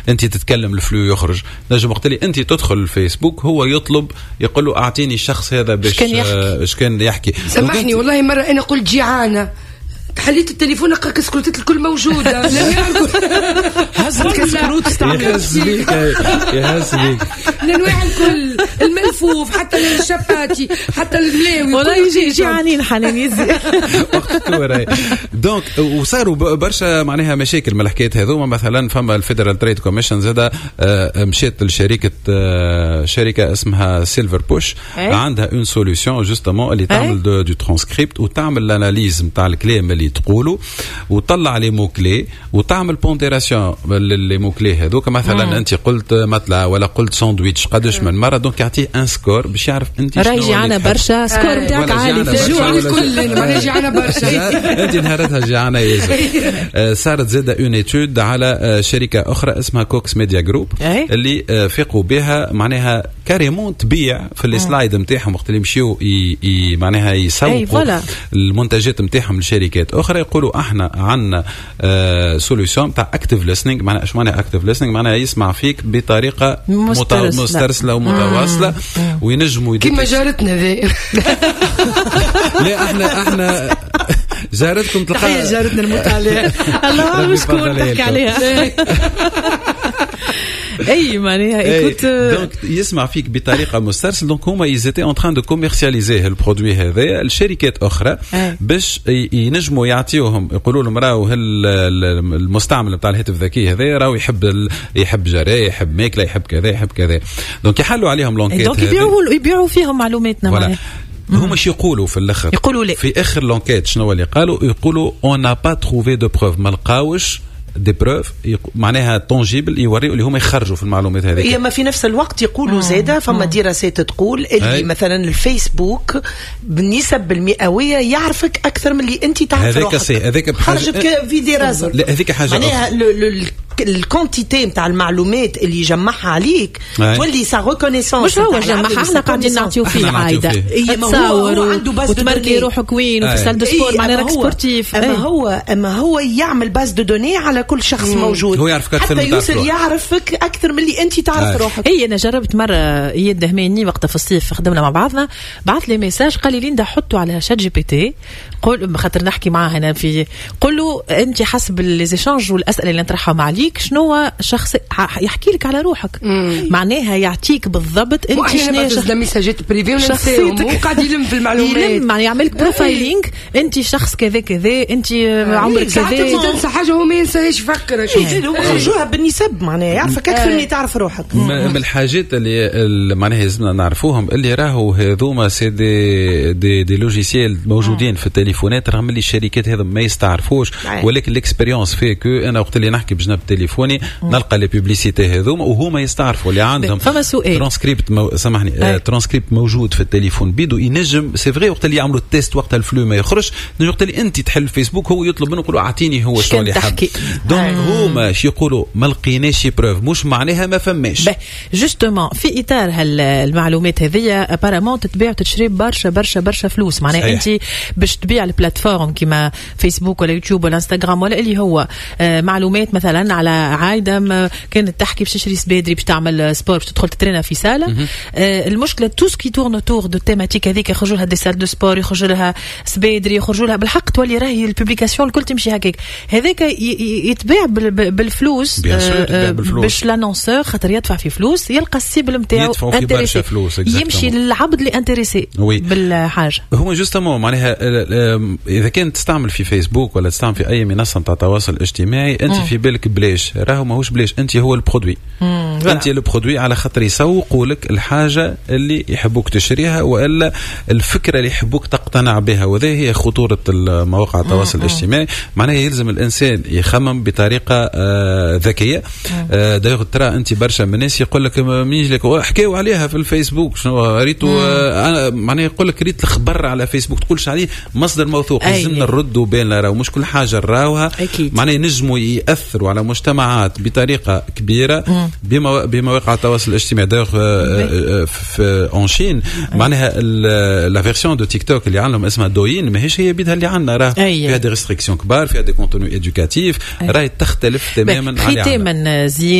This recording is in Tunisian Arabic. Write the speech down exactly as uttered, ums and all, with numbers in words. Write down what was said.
انت تتكلم ال flux يخرج. نجم وقت اللي انت تدخل الفيسبوك هو يطلب، يقول له اعطيني الشخص هذا باش كان يحكي. اش كان يحكي. سامحني والله مرة انا قلت جيعانه، حليت التليفون لقى كسكروتات الكل موجوده. هزت كسكروت استعمل. يهز بيك، يهز بيك. الانواع الكل، الملفوف حتى الشباتي حتى الملاوي. والله يجي جيعانين حنان يزي. وقت donc وصاروا برشا معناها مشاكل من الحكايات هذوما. مثلا فما ال Federal Trade Commission زاده آه، مشات لشركه آه، شركة اسمها Silverpush، عندها une solution justement اللي تعمل دو ترانسكريبت وتعمل l'analyse نتاع الكلام اللي تقولوا وطلع les mots clés وتعمل pondération les mots clés هذوك. مثلا انت قلت متلا ولا قلت ساندويتش قداش من مره، donc يعطيه un score باش يعرف انت شنو. راهي جيعانه برشا، score نتاعك عالي في الجوع. الكل معناها جيعانه برشا. انت نهارتها جيعانه ياسر. آه، صارت زاده une étude على آه، شركة اخرى اسمها Cox Media Group اللي آه، فاقوا بها معناها carrément تبيع في les slides نتاعهم وقت اللي يمشيو معناها يسوقوا المنتجات نتاعهم لشركات اخرى، يقولوا احنا عندنا solution تاع active listening. معناها ايش معناها active listening؟ معناها يسمع فيك بطريقة مسترسله ومتواصله وينجموا كيما جارتنا ذي. لا احنا احنا جارتكم تلقى تحية جارتنا نموت عليها. الله شكون تحكي عليها؟ اي معناها écoute donc يسمع فيك بطريقة مسترسل. donc هما ils étaient en train de commercialiser ال produit هذا لشركات اخرى باش ينجموا يعطيوهم، يقولوا لهم راهو المستعمل نتاع الهاتف الذكي هذا راهو يحب يحب جرايه، يحب ماكله، يحب كذا يحب كذا. donc يحلوا عليهم l'enquête. donc يبيعوا يبيعوا فيهم معلوماتنا معناها. هما شو يقولوا في الاخر؟ يقولوا لي في اخر l'enquête شنو اللي قالوا؟ يقولوا on n'a pas trouvé de preuves، ما لقاوش des preuves معناها tangibles يوريوا اللي هما يخرجوا في المعلومات هذيك. هي ما في نفس الوقت يقولوا زاده فما دراسات تقول اللي مثلا الفيسبوك بالنسب المئويه يعرفك اكثر من اللي انت تعرف. هذاك c'est هذاك خرجت في دراسه. لا هذيك حاجة معناها ال quantité نتاع المعلومات اللي يجمعها عليك تولي sa reconnaissance. مش هو جمعها، احنا قاعدين نعطيو فيه عايده تصور وتمركي روحك وين وفي salle de sport، معناها راك sportif. اما هو اما هو يعمل base de données على كل شخص موجود. هو يعرفك اكثر. حتى يوصل يعرفك اكثر من اللي انت تعرف روحك. اي انا جربت مره، اياد دهماني وقتها في الصيف خدمنا مع بعضنا، بعث لي message قال لي ليندا حطوا على ChatGPT، قول خاطر نحكي معاه هنا في، قول له انت حسب les échanges والاسئلة اللي نطرحهم عليك شنو شخص يحكي لك على روحك. مم. معناها يعطيك بالضبط انت شنو شخص ميساجات privés وننساهم، وقاعد يلم في المعلومات. يلم يعني يعمل لك profiling، انت شخص كذا كذا، انت عمرك كذا. انت تنسى حاجة هو ما ينساهاش، يفكر. خرجوها بالنسب، معناها يعرفك اكثر من تعرف روحك. من الحاجات اللي معناها لازمنا نعرفوهم اللي راهو هذوما c'est des des des logiciels موجودين في التليفونات، رغم اللي الشركات هذا ما يستعرفوش، ولكن l'expérience fait que انا وقت اللي نحكي بجنب تليفوني نلقى les publicités هذوما وهما يستعرفوا اللي عندهم. فما سؤال. ترانسكريبت مو... سامحني، ترانسكريبت موجود في التليفون بيدو ينجم c'est vrai وقت اللي يعملوا ال test وقت ال flux ما يخرج، وقت اللي انت تحل فيسبوك هو يطلب منه يقول اعطيني هو شنو اللي حب. donc هما شي يقولوا ما لقيناش preuve، مش معناها ما فماش. justement في اطار هالمعلومات هذيا apparemment تتباع وتشري برشا برشا برشا فلوس. معناها انت باش تبيع ال plateforme كيما فيسبوك ولا يوتيوب ولا انستغرام ولا اللي هو آه، معلومات مثلا على عايدة كانت تحكي باش تشري سبادري باش تعمل sport باش تدخل تترينا في salle. آه، المشكلة tout ce qui tourne autour de thématique هذيك يخرجوا لها des salles de sport، يخرجوا لها سبادري، يخرجوا لها بالحق تولي راهي ال publication الكل تمشي هكاك. هذاك يتباع بالفلوس آه، باش l'annonceur خاطر يدفع في فلوس يلقى ال cible نتاعو. يدفعوا في برشا فلوس. يمشي للعبد اللي intéressé بالحاجه. هو justement معناها اذا كنت تستعمل في فيسبوك ولا تستعمل في اي منصة نتاع تواصل اجتماعي انت في بالك بلاش، راهو ماهوش بلاش، انت هو ال produit، انت ال produit على خاطر يسوقوا لك الحاجة اللي يحبوك تشريها والا الفكرة اللي يحبوك تقتنع بها، وهذه هي خطورة مواقع التواصل الاجتماعي. معناها يلزم الانسان يخمم بطريقة آه ذكيه. آه d'ailleurs ترى انت برشا من الناس يقول لك مين لك حكاو عليها في الفيسبوك شنو ريتو، آه معناها يقول لك ريت الخبر على فيسبوك، تقولش عليه مصدر موثوق. لازمنا نردوا بالنا راهو مش كل حاجة نراوها معناها ينجموا ياثروا على مجتمع. المجتمعات بطريقة كبيرة بموا... بمواقع التواصل الاجتماعي. d'ailleurs في en Chine معناها la version de TikTok اللي عندهم اسمها Douyin ماهيش هي بيدها اللي عندنا، راه فيها des restrictions كبار، فيها des contenus éducatifs، راهي تختلف تماما. ختاما زياد.